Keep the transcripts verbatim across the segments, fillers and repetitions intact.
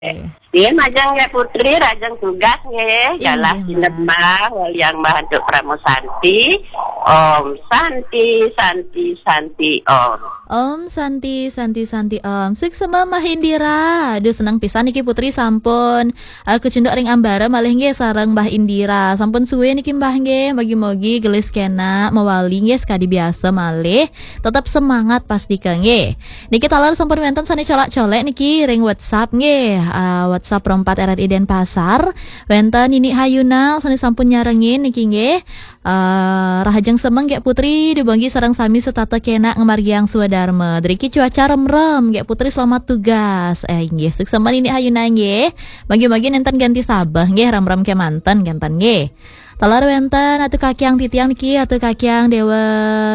Nggih, majeng nggih Putri, rajeng tugas nggih. Inggih, Galah Mbak. Sinebah, waliang Mbah Antuk Pramu Santi. Om Santi, Santi, Santi, Om. Om Santi, Santi, Santi, Om. Suksma Mbah Indira. Aduh, seneng pisan niki Putri sampun uh, kecunduk ring ambara malih nggih sareng Mbah Indira. Sampun suwe niki Mbah nggih, mogi-mogi gelis kena mawali nggih sekadi biasa malih. Tetap semangat pastika nggih. Niki taler sampun wenten sane colak-colek niki ring WhatsApp nggih. Uh, WhatsApp Rompat R R I Denpasar. Wenten Nini Hayuna sane sampun nyarengin niki nggih. Uh, rahajeng semeng nggih Putri, dubanggi sareng sami setata kena ngamargiang swadarma. Driki cuaca remrem nggih Putri, selamat tugas. Eh, nggih, suksma Nini Hayuna nggih. Bagi-bagi nenten ganti sabeh nggih, remrem kemanten kenten nggih. Taler wenten Atu Kakiang Titiang niki, Atu Kakiang Dewa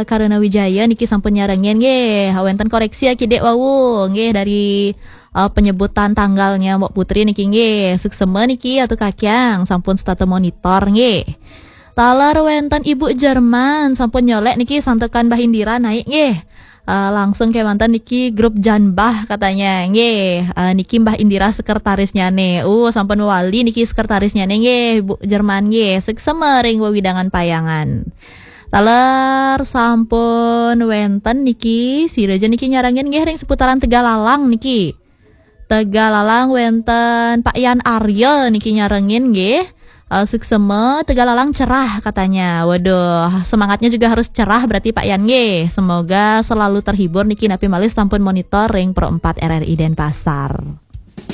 Karuna Wijaya niki sampun nyarengin nggih. Wenten koreksi ya kidik wau nggih dari uh, penyebutan tanggalnya Mbok Putri niki nggih. Suksma niki Atu Kakiang sampun setata monitor nggih. Taler wenten Ibu Jerman sampun nyolek niki santukan Mbah Indira naik nggih. Uh, langsung kemanten niki grup Janbah katanya nggih. Uh, niki Mbah Indira sekretarisnya nih. Uh, sampun wali niki sekretarisnya nih nggih, Bu Jerman nggih. Suksma ring wewidangan payangan. Taler sampun wenten niki, sira ja niki nyarengin nggih ring seputaran Tegalalang niki. Tegalalang wenten Pak Yan Arya niki nyarengin nggih. Uh, suksma, Tegalalang cerah katanya. Waduh, semangatnya juga harus cerah berarti Pak Yan nggih. Semoga selalu terhibur niki napi malih sampun monitor ring Pro empat R R I Denpasar.